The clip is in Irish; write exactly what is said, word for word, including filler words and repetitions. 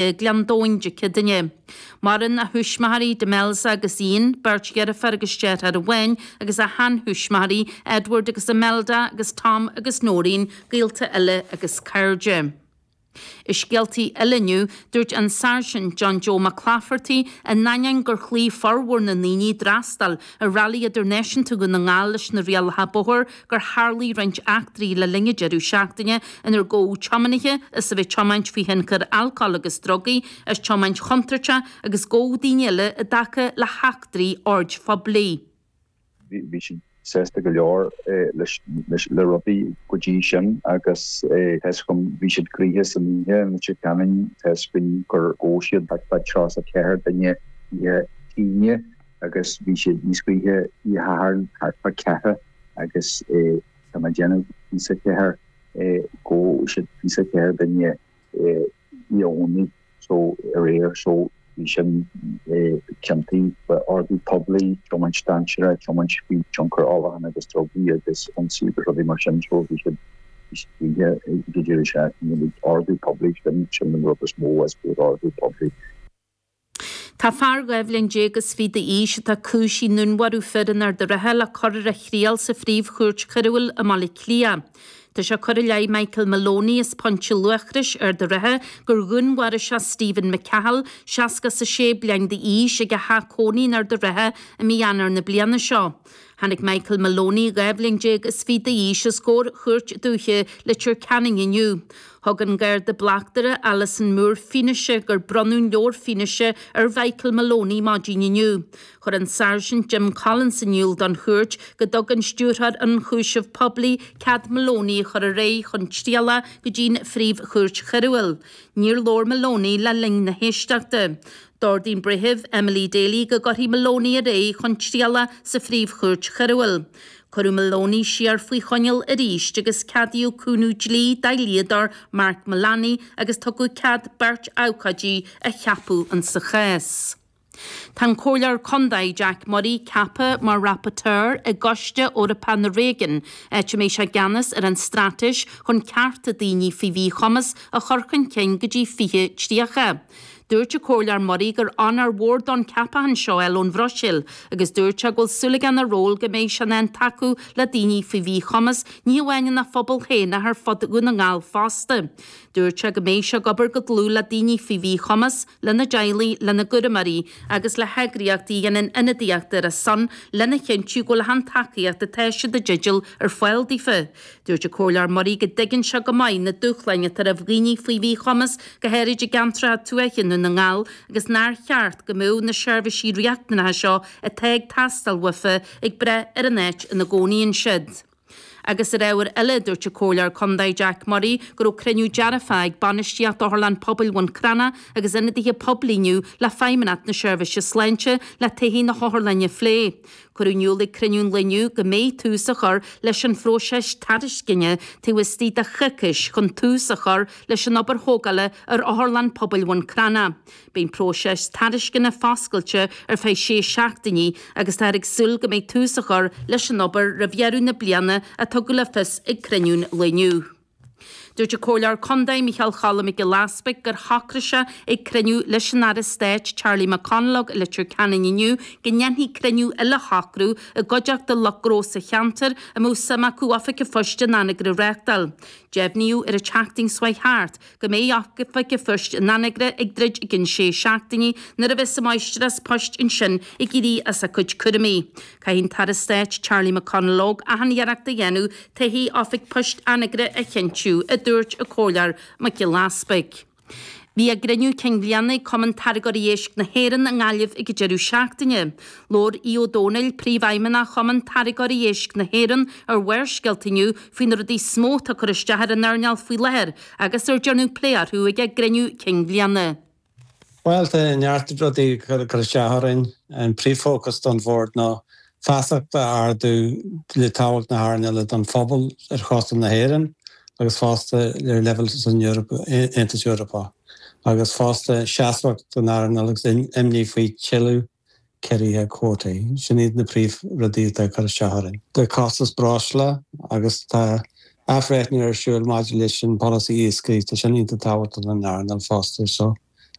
Gleann Domhain Dé Céadaoine. Maireann a thuismitheoirí Demelza agus Ian, beirt dheirfiúr agus deartháir amháin, agus a sheanthuismitheoirí Edward agus Imelda agus Tom agus Noreen, gaolta eile agus cairde. I scéaltaí eile inniu, dúirt an Sáirsint John Joe McClafferty in ainneoin gur chloígh formhór na ndaoine a d'fhreastail ar Rally Idirnáisiúnta Dhún na nGall leis na rialacha bóthair gur tharlaigh roinnt eachtraí le linn an deireadh seachtaine inar gabhadh tiománaithe as a bheith ag tiomáint faoi thionchar alcóil agus drugaí, as tiomáint chontúirteach agus gabhadh daoine eile i dtaca le heachtraí oird phoiblí. Bhí siad sásta go leor leis le rudaí go dtí sin agus tá 's agam bhí siad gnoitheach san oíche i Leitir Ceanainn, tá 's againn gur ghabh siad thart fá tríocha ceathair duine oíche Aoine agus bhí siad níos gnoithí oíche Shathairn thart fá ceathrar agus tá mé ag déanamh fiche ceathair ghabh siad fiche ceathair duine oíche Dhomhnaigh so aréir so bhí sin ciontaí ordú poiblí, tiomáint dainséarach, tiomáint faoi tionchar ólacháin agus drugaí agus ionsaí agus rudaí mar sin so bhí siad bhí siad ag an deireadh seachtaine ordú poiblí sin sin an rud is mó is ordú poiblí. Tá fear dhá bhliain déag is fiche d'aois atá cúisithe i ndúnmharú fir in Ard an Rátha le cur ar a thriail sa Phríomh-Chúirt Choiriúil i mBaile Átha Cliath. Tá sé curtha i leith Michael Maloney as Pointe Luachrais, Ard an Rátha, gur dhúnmharaigh sé Stephen McCahill, seasca is a sé bliain d'aois, ag a theach cónaí in Ard an Rátha i mí Eanáir na bliana seo. Tháinig Michael Maloney, dhá bhliain déag is fiche d'aois, os comhair Chúirt Dúiche Leitir Ceanainn inniu. Thug an Garda Bleachtaire Alison Moore fianaise gur bronnadh leabhar fianaise ar Mhichael Maloney maidin inniu. Chuir an Sáirsint Jim Collins in iúl don chúirt go dtug an Stiúrthóir Ionchúiseamh Poiblí cead Maloney a chur ar aghaidh chun triala go dtí'n Phríomh-Chúirt Choiriúil. Níor labhair Maloney le linn na héisteachta. D'ordaigh an Breitheamh Emily Daly go gcuirfí Maloney ar aghaidh chun triala sa Phríomh-Chúirt Choiriúil. Cuireadh Maloney siar faoi choinneáil arís agus ceadaíodh cúnamh dlí dá dhlíodóir Mark Mullaney agus tugadh cead beirt abhcóidí a cheapadh insa chás. Tá an Comhairleoir Contae Jack Murray ceaptha mar rapporteur i gCoiste Eorpach na Réigiún, áit a mbeidh sé i gceannas ar an straitéis chun cearta daoine faoi mhíchumas a chur chun cinn go dtí fiche tríocha. Dúirt an Comhairleoir Murray gur onóir mhór dó an ceapachán seo a fháil ón Bhruiséil agus dúirt sé go bhfuil súil aige ina ról go mbeidh sé in ann tacú le daoine faoi mhíchumas, ní hamháin ina phobal féin ach ar fud Dhún na nGall fosta. Dúirt sé go mbeidh sé ag obair go dlúth le daoine faoi mhíchumas, lena dteaghlaigh, lena gcúramóirí agus le heagraíochtaí a dhéanann ionadaíocht ar a son lena chinntiú go bhfuil an tacaíocht atá siad i dteideal ar fáil daofa. Dúirt an Comhairleoir Murray go dtuigeann sé go maith na dúshláin atá roimh dhaoine faoi mhíchumas, go háirid i gceantracha tuaithe i nDún na nGall, agus nár cheart go mbeadh na seirbhísí riachtanacha seo atá ag teastáil uafa ag brath ar an áit ina gcónaíonn siad. Agus ar ábhar eile, dúirt an Comhairleoir Contae Jack Murray go raibh cruinniú dearfach ag bainistíocht Otharlann Pobail Bhun Cranncha agus ionadaithe poiblí inniu le Feidhmeannacht na Seirbhíse Sláinte le todhchaí na hotharlainne a phlé. Cuireadh in iúl ag cruinniú an lae inniu go mbeidh tús á chur leis an phróiseas tairisceana taobh istigh de choicís chun tús a chur leis an obair thógála ar Otharlann Pobail Bhun Cranncha. Beidh an próiseas tairisceana foscailte ar feadh sé seachtainí agus táthar ag súil go mbeidh tús á chur leis an obair roimh dheireadh na bliana a tugadh le fios ag cruinniú an lae inniu. Dúirt an Comhairleoir Contae Micheál Cholm Mac Giolla Easpaig gur shocraigh sé ag cruinniú leis an Aire Stáit Charlie McConalogue i Leitir Ceanainn inniu go ndéanfaí cruinniú eile a shocrú i gcuideachta lucht gnó sa cheantar a mbeadh suim acu oifig an phoist in Anagaire a reáchtáil. Deimhníodh ar an tseachtain seo chuaigh thart go mbeidh oifig an phoist in Anagaire ag druid i gcionn sé seachtainí nuair a bheas an mháistreás poist ansin ag éirí as a cuid cúraimí. Caithfidh an tAire Stáit Charlie McConalogue achan iarracht a dhéanamh todhchaí oifig poist Anagaire a chinntiú, a dúirt an Comhairleoir Mac Giolla Easpaig. Bhí a gcruinniú cinn bhliana ag Cumann Táirgeoirí Éisc na hÉireann i nGaillimh ag an deireadh seachtaine. Labhair Aodh Ó Domhnaill, Príomhfheidhmeannach Chumann Táirgeoirí Éisc na hÉireann, ar Bharrscéalta inniu faoi na rudaí is mó atá ag cur isteach ar an earnáil faoi láthair agus ar déanadh plé orthu ag a gcruinniú cinn bhliana. Bhuel, tá neart rudaí ag cur isteach orainn. An príomhfhócas don bhord ná feasacht a ardú le tábhacht na hearnála don phobal ar chósta na hÉireann agus fosta ar leibhéal san Eoraip, Aontas Eorpach, agus fosta seasmhacht don earnáil agus imní faoi tuilleadh ciorruithe cuótaí. Sin iad na príomhrudaí atá ag cur isteach orainn. Tá costas breosla agus tá athbhreithniú ar siúl maidir leis an polasaí iascaigh, tá sin iontach tábhachtach don earnáil fosta. So.